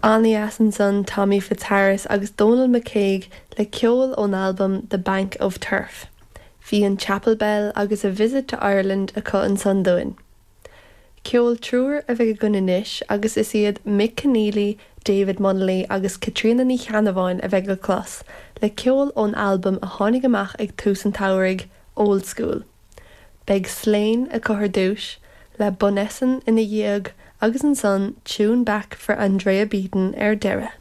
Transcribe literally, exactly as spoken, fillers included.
An-dheas ansan Tommy Fitzharris agus Donal McCague le ceol ón albam The Bank of Turf. Bhí an Chapel Bell agus a Visit to Ireland acu ansan dúinn. Ceol triúr a bheidh againn anois agus is iad Mick Keneally, David Munnelly agus Caitríona Ní Cheannabháin a bheidh le clos, le ceol ón albam a tháinig amach ag tús an tsamhraidh Old School. Beidh Slane acu ar dtús, le Bunessan ina dhiaidh agus ansan Tune Back for Andrea Beaton ar deireadh.